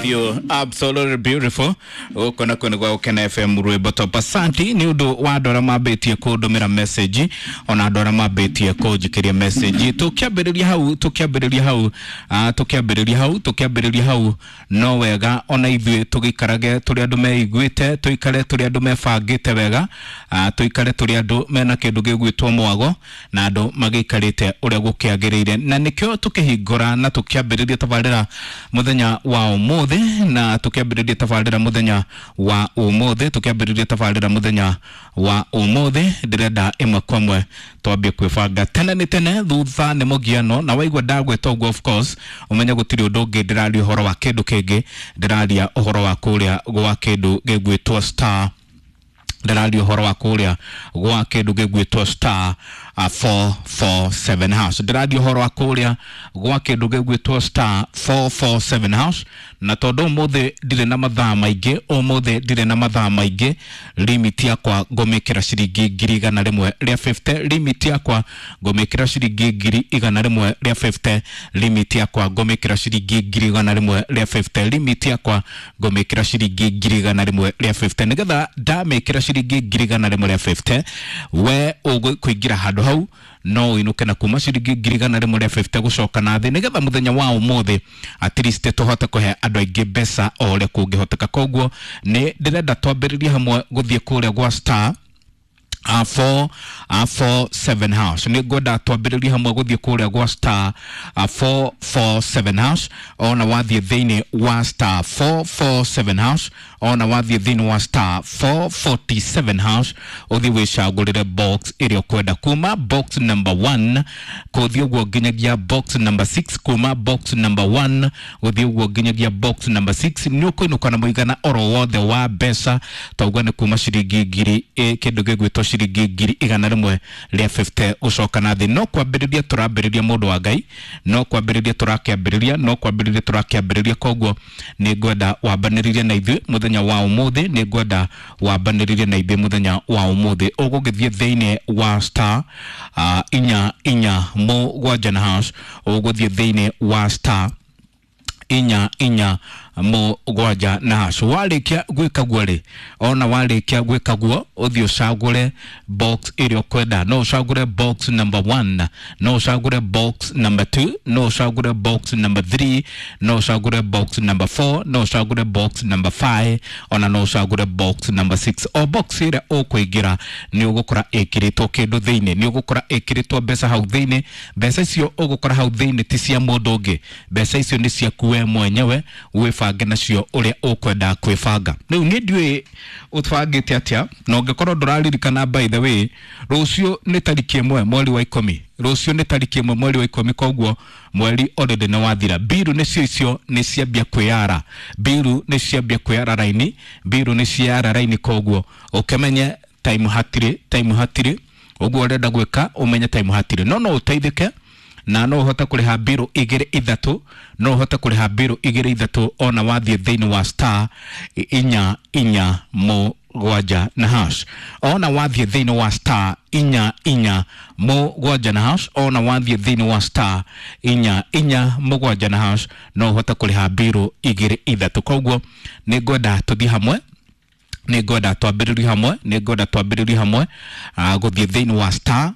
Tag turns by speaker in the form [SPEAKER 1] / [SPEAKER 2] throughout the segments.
[SPEAKER 1] With you, absolutely beautiful. Gũkũ nakuo nĩ gwa Gũkena FM rwĩmbo top. Asanti nĩ ũndũ wa andũ arĩa mambĩtie kũndũmĩra message, ona andũ arĩa mambĩtie kũnjikĩria message. Tũkĩambĩrĩria hau, tũkĩambĩrĩria hau, tũkĩambĩrĩria hau, tũkĩambĩrĩria hau, no wega ona ithuĩ tũgĩikarage tũrĩ andũ meiguĩte, tũikare tũrĩ andũ mebangĩte wega, tũikare tũrĩ andũ mena kĩndũ gĩgwĩtwo mwago na andũ magĩikarĩte ũrĩa gũkĩagĩrĩire, na nĩkĩo tũkĩhingũra na tũkĩambĩrĩria tabarĩra mũthenya wa ũmũthĩ, na tũkĩambĩrĩria tabarĩra mũthenya wa ũmũthĩ, tũkĩambĩrĩria tabarĩra mũthenya wa ũmũthĩ. Ndĩrenda ĩmwe kwa ĩmwe twambie kwĩbanga tene nĩ tene, thutha nĩ mũgiano. Na waigua ndagwĩta ũguo, of course ũmenye gũtirĩ ũndũ ũngĩ ndĩraria ũhoro wa kĩndũ kĩngĩ, ndĩraria ũhoro wa kũrĩa gwa kĩndũ gĩgwĩtwo star, ndĩraria ũhoro wa kũrĩa gwa kĩndũ gĩgwĩtwo star 447 hash, ndĩraria ũhoro wa kũrĩa gwa kĩndũ gĩgwĩtwo star 447 hash. Na tondũ ũmũthĩ ndirĩ na mathaa maingĩ, ũmũthĩ ndirĩ na mathaa maingĩ, limit yakwa ngũmĩkĩra ciringi 150,000, limit yakwa ngũmĩkĩra ciringi 150,000, limit yakwa ngũmĩkĩra ciringi 150,000, limit yakwa ngũmĩkĩra ciringi 150,000, nĩgetha ndamĩkĩra ciringi 150,000 we ũkũingĩra handũ hau no ũinũke na kuma ciringi 150,000 gũcoka na thĩ, nĩgetha mũthenya wa ũmũthĩ at least tũhote kũhe andũ aingĩ mbeca o ũrĩa kũngĩhoteka. Koguo nĩ ndĩrenda twambĩrĩrie hamwe gũthiĩ kũrĩa gwa star 4 4 7 hash. Nĩ ngwenda twambĩrĩrie hamwe gũthiĩ kũrĩa gwa star 4 4 7 hash. Ona wathiĩ thĩinĩ wa star 4 4 7 hash, ona wathiĩ thĩinĩ wa star 447 hash, ũthiĩ wĩcagũrĩre box ĩrĩa ũkwenda, kuma box number 1 kũthiĩ ũguo nginyagia box number 6, kuma box number 1 gũthiĩ ũguo nginyagia box number 6, nĩ ũkũinũka na mũigana oro wothe wa mbeca. Tauga nĩ kuma ciringi ngiri kĩndũ gĩgwĩtwo ciringi 150,000 gũcoka na thĩ. No kwambĩrĩria tũrambĩrĩria, mũndũ wa Ngai, no kwambĩrĩria tũrakĩambĩrĩria, no kwambĩrĩria tũrakĩambĩrĩria. Koguo nĩ ngwenda wambanĩrĩrie na ithuĩ mũthenya wa ũmũthĩ, nĩ ngwenda wambanĩrĩrie na ithuĩ mũthenya wa ũmũthĩ. Ũgũgĩthiĩ thĩinĩ wa star 4 4 7 na hash, ũgũthiĩ thĩinĩ wa star 4 4 7 na hash. Warĩkia gwĩka guo rĩ, ona warĩkia gwĩka guo, ũthiĩ ũcagũre box ĩrĩa ũkwenda. No ũcagũre box number 1, no ũcagũre box number 2, no ũcagũre box number 3, no ũcagũre box number 4, no ũcagũre box number 5, ona no ũcagũre box number 6. O box ĩrĩa ũkũingĩra nĩ ũgũkora ĩkĩrĩtwo kĩndũ thĩinĩ, nĩ ũgũkora ĩkĩrĩtwo mbeca hau thĩinĩ. Mbeca icio ũgũkora hau thĩinĩ ti cia mũndũ ũngĩ, mbeca icio nĩ ciaku we mwenyewe, wĩbange nacio ũrĩa ũkwenda kwĩbanga. Rĩu niĩ ndiũĩ ũbangĩte atĩa, na ũngĩkorwo ndũraririkana, by the way, rũciũ nĩ tarĩki 1 mweri wa 10, rũciũ nĩ tarĩki 1 mweri wa 10, koguo mweri already nĩ wathira. Mbiru nĩcio icio nĩ ciambia kwĩyara, mbiru nĩ ciambia kwĩyara raini, mbiru nĩ ciara raini, koguo ũkĩmenye time hatirĩ, time hatirĩ. Ũguo ũrenda gwĩka ũmenye time hatirĩ, no no ũteithĩke na no ũhote kũrĩha mbiru 2 3, no ũhote kũrĩha mbiru 2 3 ona wathiĩ thĩinĩ wa star 4 4 7 na hash, ona wathiĩ thĩinĩ wa star 4 4 7 na hash, ona wathiĩ thĩinĩ wa star 4 4 7 na hash, no ũhote kũrĩha mbiru 2 3. Koguo nĩ ngwenda tũthiĩ hamwe, nĩ ngwenda twambĩrĩrie hamwe, nĩ ngwenda twambĩrĩrie hamwe gũthiĩ thĩinĩ wa star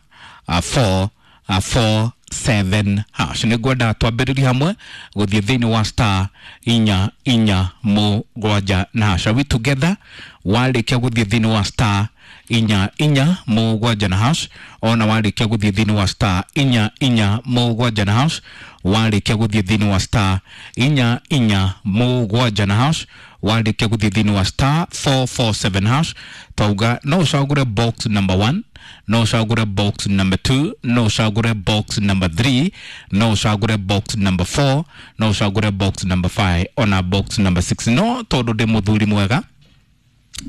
[SPEAKER 1] 4 4 7 hash. Nĩ ngwenda twambĩrĩrie hamwe gũthiĩ thĩinĩ wa star 4 4 7 na hash. Are we together? Warĩkia gũthiĩ thĩinĩ wa star 4 4 7 na hash, ona warĩkia gũthiĩ thĩinĩ wa star 4 4 7 na hash, warĩkia gũthiĩ thĩinĩ wa star 4 4 7 na hash, warĩkia gũthiĩ thĩinĩ wa star 447 hash, twauga no ũcagũre box number 1, no ũcagũre box number 2, no ũcagũre box number 3, no ũcagũre box number 4, no ũcagũre box number 5, ona box number 6. No tondũ ndĩ mũthuri mwega,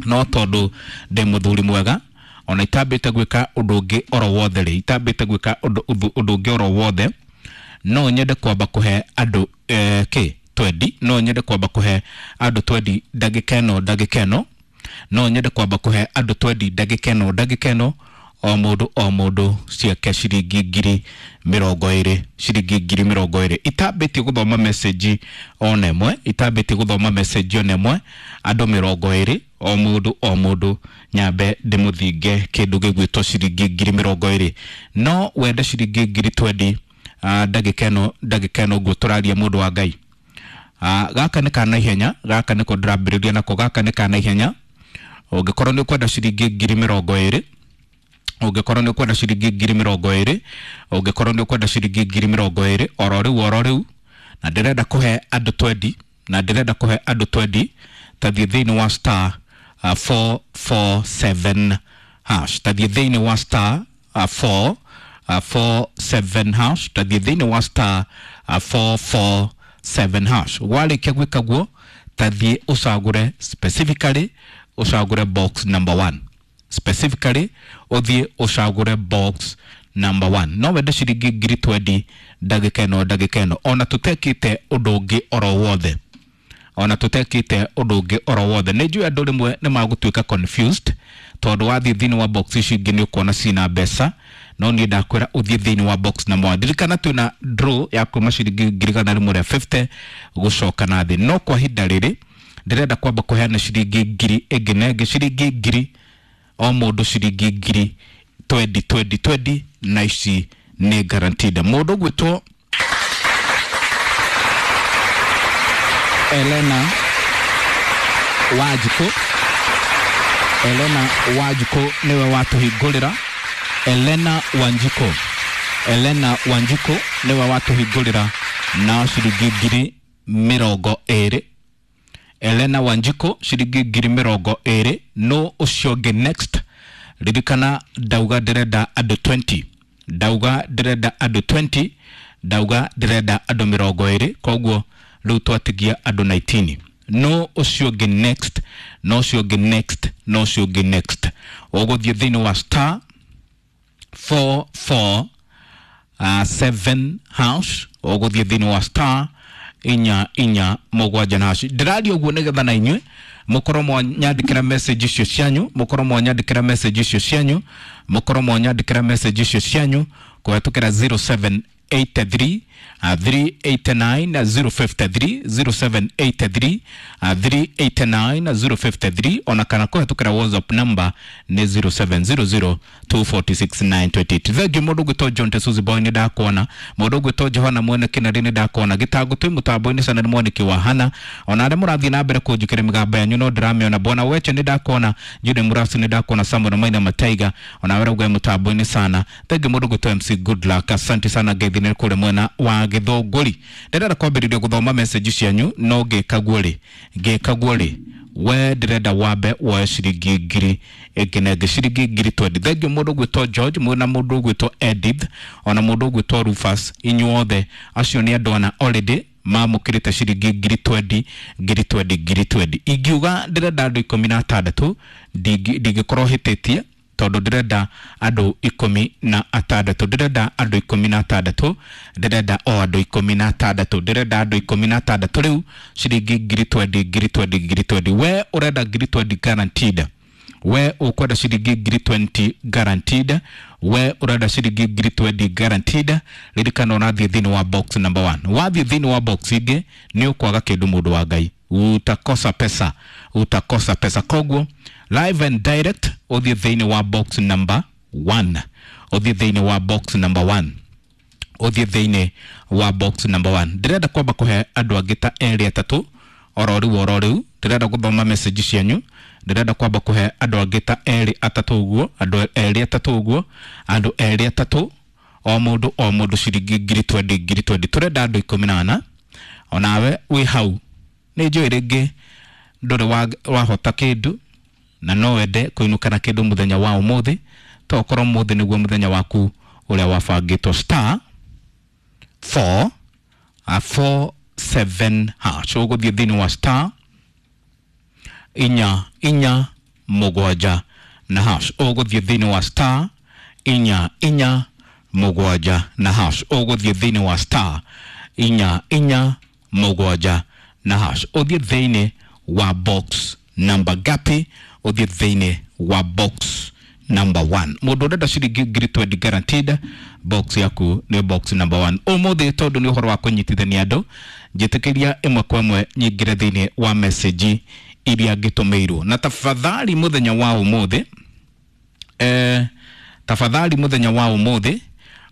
[SPEAKER 1] no tondũ ndĩ mũthuri mwega, ona itambĩte gwĩka ũndũ ũngĩ oro wothe rĩ, itambĩte gwĩka ũndũ ũngĩ oro wothe, no nyende kwamba kũhe andũ kĩ twendi, no nyende kwamba kũhe andũ twendi ndagĩka ĩno, ndagĩka ĩno, no nyende kwamba kũhe andũ twendi ndagĩka ĩno, ndagĩka ĩno. o mũndũ o mũndũ ciake ciringi 20,000, ciringi 20,000. Itambĩtie gũthoma message ona ĩmwe, itambĩtie gũthoma message ona ĩmwe, andũ 20 o mũndũ o mũndũ nyambe ndĩmũthinge kĩndũ gĩgwĩtwo ciringi 20,000. No wende ciringi 20,000 ndagĩka ĩno, ndagĩka ĩno ũguo tũraria mũndũ wa Ngai. Gaka nĩ ka naihenya, gaka nĩko ndĩrambĩrĩria nako, gaka nĩ ka naihenya. Ũngĩkorwo nĩ ũkwenda ciringi 20,000, ũngĩkorwo nĩ ũkwenda ciringi 20,000, ũngĩkorwo nĩ ũkwenda ciringi 20,000 oro rĩu oro rĩu, na ndĩrenda kũhe andũ 20, na ndĩrenda kũhe andũ 20, tathiĩ thĩinĩ wa star 447 hash, tathiĩ thĩinĩ wa star 4 47 hash, tathiĩ thĩinĩ wa star 447 hash. Warĩkia gwĩka guo, tathiĩ ũcagũre specifically, ũcagũre box number 1, specifically ũthiĩ ũcagũre box number 1. No wende ciringi 20,000 ndagĩka ĩno, ndagĩka ĩno, ona tũtekĩte ũndũ ũngĩ oro wothe, ona tũtekĩte ũndũ ũngĩ oro wothe. Nĩ njũĩ andũ rĩmwe nĩ magũtuĩka confused tondũ wathiĩ thĩinĩ wa box ici ingĩ nĩ ũkuona cina mbeca, no niĩ ndakwĩra ũthiĩ thĩinĩ wa box number 1. Ndirikana twĩna draw ya kuma ciringi 150,000 gũcoka na thĩ, no kwa ihinda rĩrĩ ndĩrenda kwamba kũheana ciringi ngiri ĩngĩ na ĩngĩ, ciringi ngiri o mũndũ ciringi 20,000 20 20, na ici nĩ guaranteed. Mũndũ ũgwĩtwo Elena Wanjikũ, Elena Wanjikũ nĩwe watũhingũrĩra. Elena Wanjikũ, Elena Wanjikũ nĩwe watũhingũrĩra na ciringi 20,000. Elena Wanjikũ ciringi 20,000. No ũcio ũngĩ next, ririkana ndauga ndĩrenda andũ 20, ndauga ndĩrenda andũ 20, ndauga ndĩrenda andũ 20, koguo rĩu twatigia andũ 19. No ũcio ũngĩ next, no ũcio ũngĩ next, no ũcio ũngĩ next, ũgũthiĩ thĩinĩ wa star 4 7 hash, ũgũthiĩ thĩinĩ wa star 4 4 7 na hash. Ndĩraria ũguo nĩgetha na inyuĩ mũkorwo mwanyandĩkĩra message icio cianyu, mũkorwo mwanyandĩkĩra message icio cianyu, mũkorwo mwanyandĩkĩra message icio cianyu kũhetũkĩra 0783 389 053, 0783 389 053, ona kana kũhetũkĩra WhatsApp number nĩ 0700 246 928. Thengiũ mũndũ ũgwĩtwo John Tesuzi Boy nĩ ndakuona, mũndũ ũgwĩtwo Johana Mwene Kĩnarĩ nĩ ndakuona, gĩtango twĩ mũtambo-inĩ sana nĩ mwanĩki wa Hana, ona arĩa mũrathiĩ na mbere kũnjĩkĩra mĩgambo yanyu no ndĩramĩona. Bwana Weche nĩ ndakuona, Jude Murasi nĩ ndakuona, Samuel Maina Mataiga ona we ũrauga mũtambo-inĩ sana. Thengiũ mũndũ ũgwĩtwo MC Good Luck, asante sana ngeithi nĩ kũrĩa mwena wa Gĩthũngũri. Ndĩrenda kwambĩrĩria gũthoma message cianyu, no ngĩkaguo rĩ, ngĩkaguo rĩ, we ndĩrenda wambe woe ciringi 1,000 ĩngĩ na ĩngĩ, ciringi 20,000. Thengiũ mũndũ ũgwĩtwo George, na mũndũ ũgwĩtwo Edith, ona mũndũ ũgwĩtwo Rufus, inyuothe acio nĩ andũ ana already mamũkĩrĩte ciringi 20,000 20,000 20,000. Ingiuga ndĩrenda andũ 16, ndingĩkorwo hĩtĩtie tondũ ndĩrenda andũ 16, ndĩrenda andũ 16, ndĩrenda o andũ 16, ndĩrenda andũ 16 rĩu ciringi 20,000 20,000 20,000. We ũrenda 20,000 guaranteed, we ũkwenda ciringi 20,000 guaranteed, we ũrenda ciringi 20,000 guaranteed. Ririkana ũrathiĩ thĩinĩ wa box number 1. Wathiĩ thĩinĩ wa box ingĩ nĩ ũkwaga kĩndũ mũndũ wa Ngai, utakosa pesa, utakosa pesa. Koguo live and direct ũthiĩ thĩinĩ wa box number 1, ũthiĩ thĩinĩ wa box number 1, ũthiĩ thĩinĩ wa box number 1. Ndĩrenda kwamba kũhe andũ angĩ ta erĩ atatũ oro rĩu oro rĩu, ndĩrenda gũthoma message cianyu, ndĩrenda kwamba kũhe andũ angĩ ta erĩ atatũ ũguo, andũ erĩ atatũ ũguo, andũ erĩ atatũ, o mũndũ o mũndũ ciringi 20,000 20,000. Tũrenda andũ 14. Onawe wĩ hau nĩ njũĩ rĩngĩ ndũrĩ wahota kĩndũ na no wende kũinũka na kĩndũ mũthenya wa ũmũthĩ, to okorwo ũmũthĩ nĩguo mũthenya waku ũrĩa wabangĩtwo. Star 4 4 7 hash, ũgũthiĩ thĩinĩ wa star 4 4 7 na hash, ũgũthiĩ thĩinĩ wa star 4 4 7 na hash, ũgũthiĩ thĩinĩ wa star 4 4 7 na hash, ũthiĩ thĩinĩ wa box number gapi, ũthiĩ thĩinĩ wa box number 1. Mũndũ ũrenda ciringi ngiri 20 guaranteed, box yaku nĩ box number 1. Ũmũthĩ tondũ nĩ ũhoro wa kũnyitithania andũ, njĩtĩkĩria ĩmwe kwa ĩmwe nyingĩre thĩinĩ wa message iria ngĩtũmĩirwo. Na tafadhali mũthenya wa ũmũthĩ, tafadhali mũthenya wa ũmũthĩ,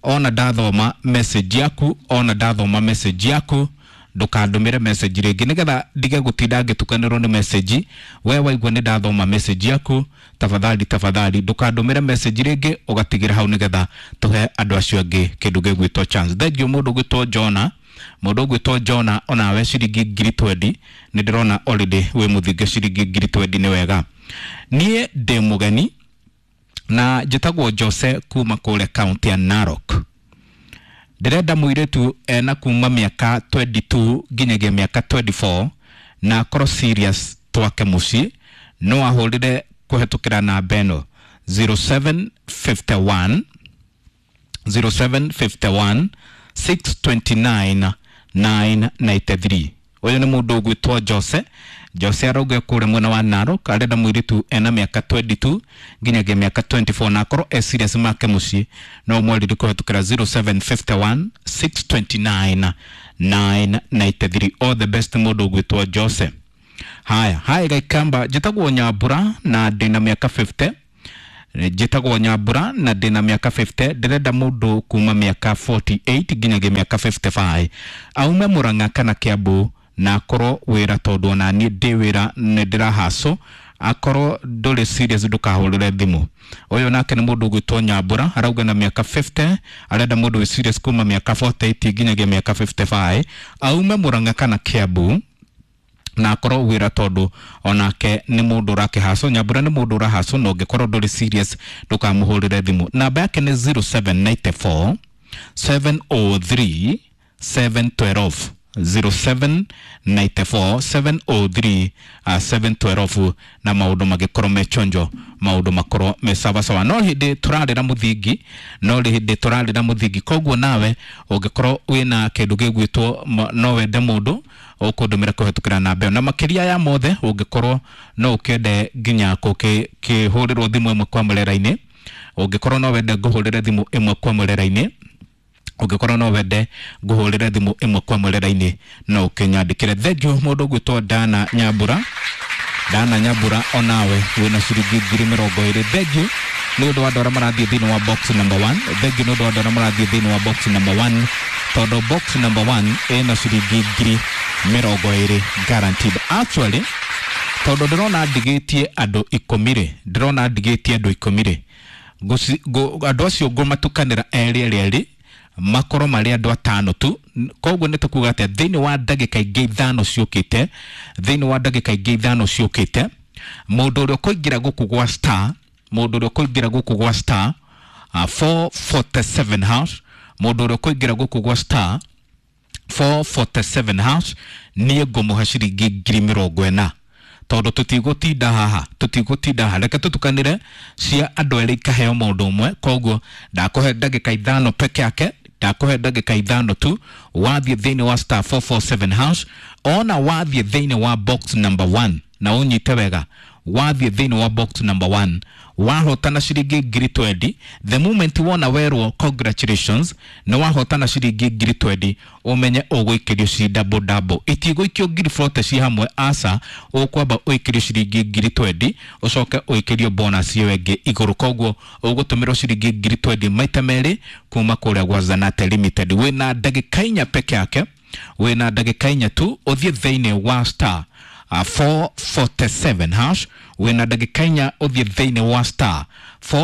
[SPEAKER 1] ona ndathoma message yaku, ona ndathoma message yaku, ndukandumire message rĩngĩ nĩgetha ndige gũtinda ngĩtukanĩrwo nĩ message. We waigua nĩ ndathoma message yaku, tafadhali tafadhali ndukandumire message rĩngĩ, ũgatigĩra hau nĩgetha tũhe andũ acio angĩ kĩndũ gĩgwĩtwo chance. Thengiũ mũndũ ũgwĩtwo Jona, mũndũ ũgwĩtwo Jona, onawe ciringi ngiri 20 nĩ ndĩrona already wĩ mũthinge ciringi ngiri 20. Nĩ wega. Niĩ ndĩ mũgeni na njĩtagwo Jose kuma kũrĩa kaunti ya Narok. Ndĩrenda mũirĩtu ena kuma mĩaka 22 nginyagia mĩaka 24 na akorwo serious twake mũciĩ. No ahũrĩre kũhetũkĩra namba ĩno 0751 0751 629 993. Ũyũ nĩ mũndũ ũgwĩtwo Jose. Jose arauga kũrĩa mwena wa Narok arenda mũirĩtu ena mĩaka 22 nginyagia mĩaka 24 na akorwo e serious make mũciĩ. No mwarĩrie kũhetũkĩra 0751 629 993. All the best, mũndũ ũgwĩtwo Jose. Haya haya, Gaikamba, njĩtagwo Nyambura na ndĩna mĩaka 50. Njĩtagwo Nyambura na ndĩna mĩaka 50. Ndĩrenda mũndũ kuma mĩaka 48 nginyagia mĩaka 55, aume Murang'a kana Kiambu, na akorwo wĩra, tondũ ona niĩ ndĩ wĩra nĩ ndĩrahaco. Akorwo ndũrĩ serious ndũkahũrĩre thimũ. Ũyũ nake nĩ mũndũ ũgwĩtwo Nyambura, arauga na mĩaka 50, arenda mũndũ wĩ serious kuma mĩaka 48 nginyagia mĩaka 55, aume Murang'a kana Kiambu, na akorwo wĩra, tondũ onake nĩ mũndũ ũrakĩhaco. Nyambura nĩ mũndũ ũrahaco, na ũngĩkorwo ndũrĩ serious ndũkamũhũrĩre thimũ. Namba yake nĩ 0794 703 712, 0794 703 712, na maũndũ magĩkorwo me chonjo, maũndũ makorwo me sawasawa. No hĩndĩ tũrarĩra mũthingi, no hĩndĩ tũrarĩra mũthingi. Koguo nawe ũngĩkorwo wĩna kĩndũ gĩgwĩtwo no wende mũndũ, ũkũndũmĩra kũhetũkĩra namba ĩyo. Na makĩria ya mothe, ũngĩkorwo no ũkĩende nginya kũhũrĩrwo thimũ ĩmwe kwa mũrera-inĩ, ũngĩkorwo no wende ngũhũrĩre thimũ ĩmwe kwa mũrera-inĩ, ũngĩkorwo no wende ngũhũrĩre thimũ ĩmwe kwa mũrera-inĩ, no ũkĩnyandĩkĩre. Thengiũ mũndũ ũgwĩtwo Dana Nyambura. Dana Nyambura, onawe wĩna ciringi ngiri mĩrongo ĩrĩ. Thengiũ nĩ ũndũ wa andũ arĩa marathiĩ thĩinĩ wa box number 1. Thengiũ nĩ ũndũ wa andũ arĩa marathiĩ thĩinĩ wa box number 1, tondũ box number 1 ĩna ciringi ngiri mĩrongo ĩrĩ guaranteed. Actually, tondũ ndĩrona ndigĩtie andũ ikũmi rĩ, ndĩrona ndigĩtie andũ ikũmi rĩ, andũ acio ngũmatukanĩra erĩ erĩ erĩ, makorwo marĩ andũ atano tu. Koguo nĩ tũkuga atĩa? Thĩinĩ wa ndagĩka ingĩ 5 ciũkĩte, thĩinĩ wa ndagĩka ingĩ 5 ciũkĩte, mũndũ ũrĩa ũkũingĩra gũkũ gwa star, mũndũ ũrĩa ũkũingĩra gũkũ gwa star 447 hash, mũndũ ũrĩa ũkũingĩra gũkũ gwa star 447 hash, niĩ ngũmũhe ciringi ngiri mĩrongo ĩna, tondũ tũtigũtinda haha, tũtigũtinda haha. Reke tũtukanĩre cia andũ erĩ ikaheo mũndũ ũmwe. Koguo ndakũhe ndagĩka 5 peke yake, ndakũhe ndagĩka 5 tu. Wathiĩ thĩinĩ wa star 447 hash, ona wathiĩ thĩinĩ wa box number 1, na ũnyite wega, wathiĩ thĩinĩ wa box number 1, wahotana ciringi ngiri 20, the moment wona werwo congratulations, nĩ wahotana ciringi ngiri 20, ũmenye ũgũikĩrio ci double double. Itigũikio ngiri 40 ci hamwe, aca. Ũkwamba ũikĩrio ciringi ngiri 20, ũcoke ũikĩrio bonus ĩyo ĩngĩ igũrũ. Koguo ũgũtũmĩrwo ciringi ngiri 20 maita merĩ kuma kũrĩa gwa Zanate Limited. Wĩna ndagĩka 4 peke yake, wĩna ndagĩka 4 tu ũthiĩ thĩinĩ wa star 447 hash. Wĩna ndagĩka 4 ũthiĩ thĩinĩ wa star 4